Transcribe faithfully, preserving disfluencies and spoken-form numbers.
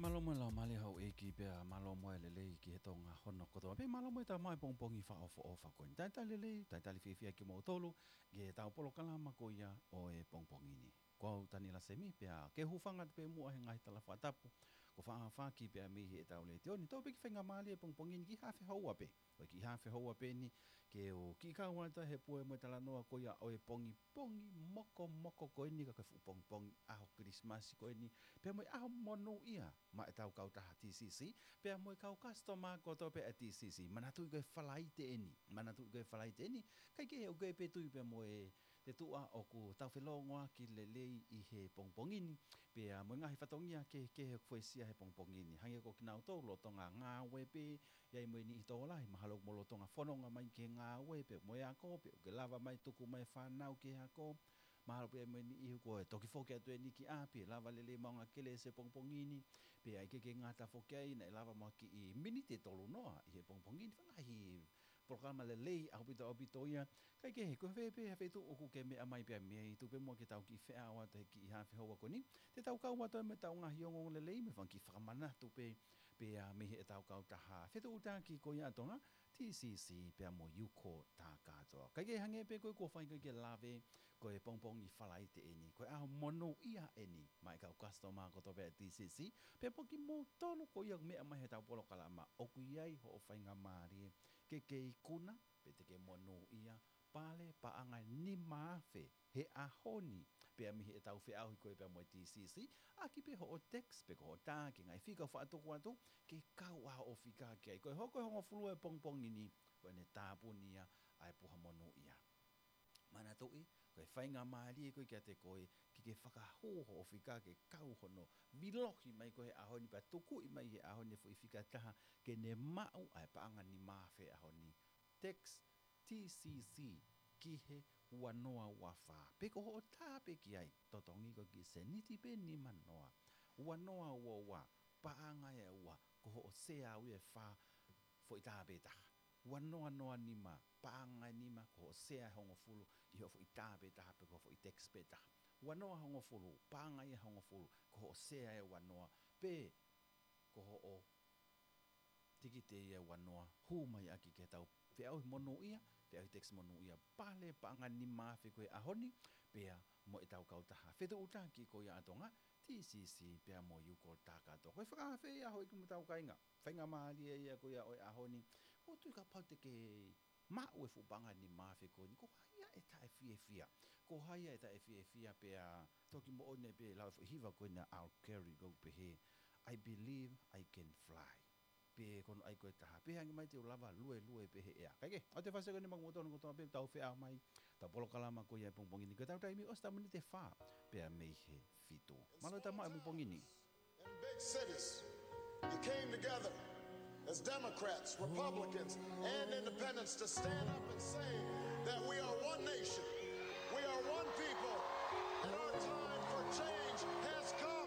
Mālō mo e laumālie houʻeiki pea mālō mo e lelei ki he Tonga hono kotoa pē. Mālō mo e tau mai pongipongi fakaʻofoʻofa ko eni. Talitali lelei, talitali fiefia kimoutolu ki heʻetau polokalama ko ia ʻo e pongipongi ni. Ko au Tani Lasemi pea ke u hūfanga atu pē muʻa he ngaahi tala fakatapu kuo faʻa foaki pē mei heʻetau letiō ni. Tau pē ki he faingamālie he pongipongi ni ki he hafe houa pē. Ko e kiʻi hafe houa pē eni ke u kiʻi kau atu he pue mo e talanoa ko ia ʻo e pongipongi mokomoko ko eni, ka ko e fuʻu pongipongi ʻaho Kilisimasi ko eni, pea mo e ʻaho monūʻia maʻa ʻetau kautaha T C C pea mo e kau customer kotoa pē ʻa e T C C. Manatuʻi ko e Falaite eni, manatuʻi ko e Falaite eni, ʻikai ke u kei pē tui pea mo e te tuʻa ʻoku tau felōngoaki lelei ʻi he pongipongi ni, pea mo e ngaahi fatongia kehekehe ʻoku fuesia he pongipongi ni. Hangē ko kinautolu lolotonga ngāue pē, ʻi ai mo e niʻihi tokolahi mahalo ʻoku mou lolotonga fononga mai ki he ngāue pea mo e ako, pea ʻoku ke lava mai tuku mai e fānau ki he ako. Mahalo pē ʻi ai mo e niʻihi kuo toki foki atu eni ki ʻapi, lava lelei maʻu ngaahi kelesi he pongipongi ni, pea ʻikai ke ngata foki ai naʻe lava mo ha kiʻi miniti ʻe tolu noa ʻi he pongipongi ni. Ngaahi polokalama lelei ʻaupito ʻaupito ia. Kae kehe, ko fē pē ha feituʻu ʻoku ke meʻa mai pē mei ai, tuku pē muʻa ke tau kiʻi feʻao atu he kiʻi hafe houa ko eni. Te tau kau atu mo ʻetau ngaahi ongoongo lelei mo e fanga kiʻi fakamanatu pē, pea mei heʻetau kautaha fetuʻutaki ko ia ʻa Tonga, T C C pea mo Yuko Takatoa. Kae kehe, hangē pē ko e kuo fai ko ē ke lave, ko e pongipongi Falaite eni, ko e ʻaho monūʻia eni maʻa e kau customer kotoa pē ʻa e T C C, pea mo kimoutolu ko ia ʻoku meʻa mai heʻetau polokalama, ʻoku ʻi ai hoʻo faingamālie ke ke ikuna pe te ke monūʻia pale paʻanga ʻe nima afe he ʻaho ni, pea mei heʻetau feʻauhi ko ē pea mo e T C C, ʻaki pē hoʻo text pe ko hoʻo tā ki he ngaahi fika ʻoku faʻa tuku atu, ke kau ʻa hoʻo fika ki ai. Ko e hoko ʻe hongofulu e pongipongi ni, ko ʻene tāpuni ia ʻa e puha monūʻia. Manatuʻi, ko e faingamālie ko ē kiate koe ke ke fakahū hoʻo fika ke kau hono vilohi mai ko ē he ʻaho ni pea tukuʻi mai he ʻaho ni e foʻi fika ʻe taha ke ne maʻu ʻa e paʻanga ʻe nima afe he ʻaho ni. Text T C C ki he ua noa ua fā. Pe ko hoʻo tā pē ki ai, totongi ko e kiʻi sēniti pē ʻe nima noa. Ua noa ua ua, paʻanga ʻe ua, ko hoʻo sea ia ʻe fā, foʻi tā pē ʻe taha. Ua noa noa nima, paʻanga ʻe nima, ko hoʻo sea ʻe hongofulu ʻi hoʻo foʻi tā pē ʻe taha pe ko hoʻo foʻi text pē ʻe taha. Ua noa hongofulu, paʻanga ia ʻe hongofulu, ko hoʻo sea ʻe ua noa, pe ko hoʻo tikite ia ʻe ua noa, hū mai ʻaki ke tau feʻauhi monūʻia, feʻauhi text monūʻia, pale paʻanga ʻe nima afe ko ē he ʻaho ni, pea mo ʻetau kautaha fetuʻutaki ko ia ʻa Tonga, T C C pea mo Yuko Takatoa. Ko e fakaafe ia houʻeiki mo ʻetau kāinga. Faingamālie ia ko ia ʻo e ʻaho ni. ʻOku ou tui kapau te ke maʻu e fuʻu paʻanga ʻe nima afe ko eni, ko hai ia ʻe taʻefiefia? Ko hai ia ʻe taʻefiefia? Pea toki moʻoni pē lau e foʻi hiva ko ena ʻa R. Kelly ʻoku pehē, "I believe I can fly." Pe ko hono ʻai ko ē ʻe taha, pehē ange mai te u lava luelue pē he ʻea. Kae kehe, ʻoua te fasi ko eni maʻa kimoutolu kotoa pē, tau feʻao mai, tau polokalama ko ia he pongipongi ni, ko ʻetau taimi ʻosi ʻetau miniti ʻe fā pea mei he fitu. Mālō e tau maʻu e pongipongi ni. In big cities, you came together as Democrats, Republicans, and independents to stand up and say that we are one nation, we are one people, and our time for change has come.